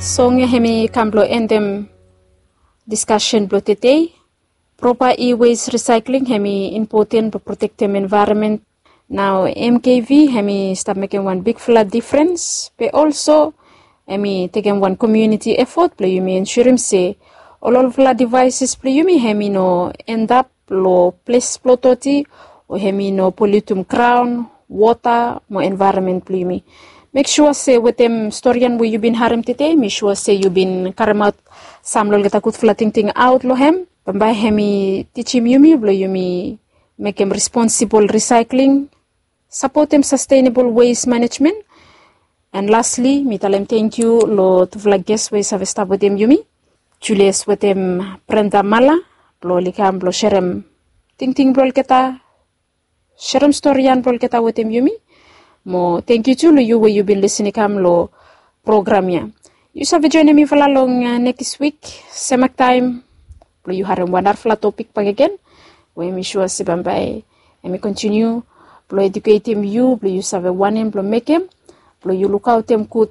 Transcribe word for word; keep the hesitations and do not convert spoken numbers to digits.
Song ya hemi kam blong endem diskasen blong tedei. Propa e-waste resaikling hemi impoten blong protektem envaeronmen. Nao M K V hemi stap mekem wan bigfala difrens be olso hemi tekem wan komiuniti efot blong yumi ensurim se ol olfala devaeses blong yumi hemi no endap long ples blong doti o hemi no poliutum graon, wota mo envaeronmen blong yumi. Mek sua se wetem storian we yu bin harem tede mi sua se yu bin karemaot sam long olgeta gudfala tingting aot long hem. Bambae hemi tijim yumi blong yumi mekem responsibol resaikling, sapotem sastenabol wes manejmen. An lasli mi talem tengkiu long tufala ges we i save stap wetem yumi, Julius wetem Brenda Mala, blong oli kam blong serem tingting blong olgeta, serem storian blong olgeta wetem yumi. Mo tengkiu tu long yu we yu bin lisin i kam long program ya. Yu save joenem mifala long nekis wik semak taem blong yu harem wan narafala topik bakegen we mi sua se bambae hemi kontiniu blong eduketem yu blong yu save wanem blong mekem blong yu lukaotem gud